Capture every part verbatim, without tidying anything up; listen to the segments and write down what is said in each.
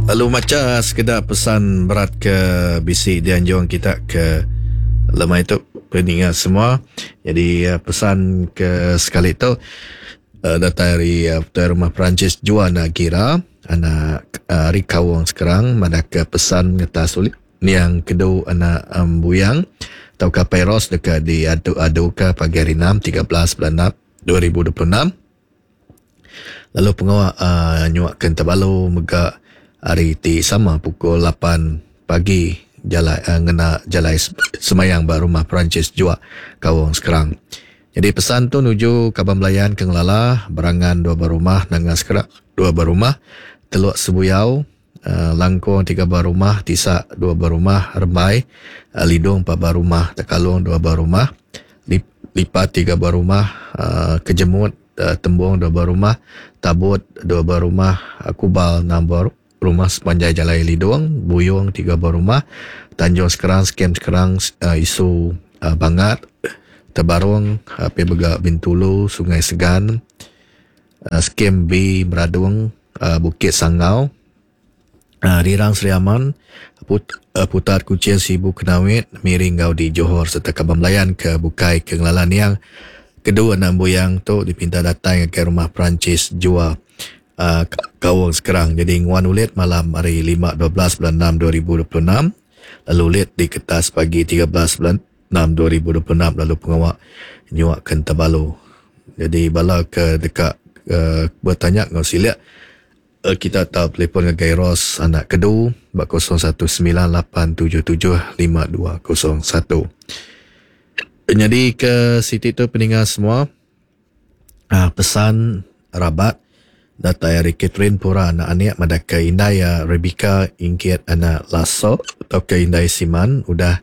Lalu macha sekeda pesan berat ke bisi dianjung kita ke lemai tu peninga semua. Jadi pesan ke sekali tu datai ari Tuai Rumah Perancis Juan Gira anak ari Kaung Sekerang madahka pesan ngetas ulih niang kedu anak Buyang tauka Peros deka diadu-aduka pagi hari enam tiga belas bulan enam dua ribu dua puluh enam. Lalu pengawa uh, nyuak ke Entabalu mega hari ti sama pukul lapan pagi jalai uh, ngena jalai semayang ba rumah Perancis Juak Kaung Sekerang. Jadi pesan tu nuju kaban belayan ke ngelala berangan dua berumah nanga Sekerang dua berumah Teluk Sebuyau uh, Langkong tiga berumah Tisak dua berumah Rembai uh, Lidong empat berumah Tekalong dua berumah Lip, Lipat tiga berumah uh, Kejemut uh, Tembung dua berumah Tabut dua berumah uh, Kubal enam berumah rumah sepanjai Jalai Lidong, Buyong tiga buah rumah, Tanjung Sekerang, Skem Sekerang, uh, Isu uh, Bangat, Tebarung, uh, Pebega Bintulu, Sungai Segan, uh, Skem B Meradung, uh, Bukit Sangau, uh, Rirang Sri Aman, Put, uh, Putar Kuching Sibu Kenawit, Miring Gau di Johor serta Kaban Belayan ke Bukai ke Ngelalan yang kedua enam buyang tu dipinta datang ke rumah Perancis Jua Uh, Kaung Sekerang. Jadi nguan ulit malam hari lima dua belas bulan enam dua ribu dua puluh enam, lalu ulit di kertas pagi tiga belas bulan enam dua ribu dua puluh enam, lalu pengawak nyuak ke Entabalu. Jadi bala ke dekat uh, bertanya ngau siliak uh, kita tahu telefon dengan Ros anak kedu bak kosong satu sembilan lapan tujuh tujuh lima dua kosong satu. Jadi ke siti tu peningat semua uh, pesan rabat datai ari Catherine Pura anak anik madaka indai Rebecca Ingkit anak Lasso atau ke indai Siman udah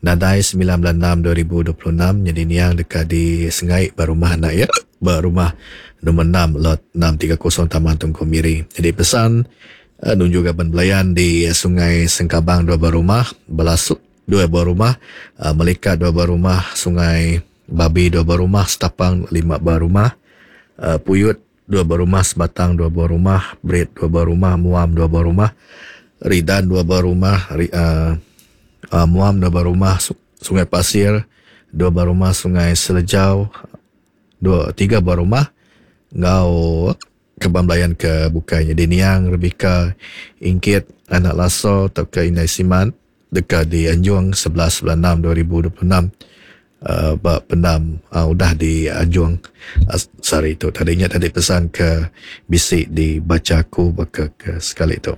nadai sembilan bulan enam dua ribu dua puluh enam. Jadi niang dekat di Sengai berumah anak ya berumah nombor enam lot enam tiga kosong Taman Tungku Miri. Jadi pesan uh, nunjuk gaban belayan di Sungai Sengkabang dua berumah, Belasuk dua berumah, uh, Melikat dua berumah, Sungai Babi dua berumah, Setapang lima berumah, uh, Puyut dua berumah, Sebatang dua berumah, Berit dua berumah, Muam dua berumah, Ridan dua berumah, uh, uh, Muam dua berumah, Sungai Pasir dua berumah, Sungai Selejau dua tiga berumah, ngau Kebang Belayan ke Bukai. Jadi niang Rebecca Ingkit anak Lasso atau ke Indai Siman dekat di Anjung sebelas bulan enam dua ribu dua puluh enam. Uh, bak pendam uh, udah di Anjung uh, sehari itu. Tadinya tadi pesan ke bisik dibaca aku baka ke sekali itu.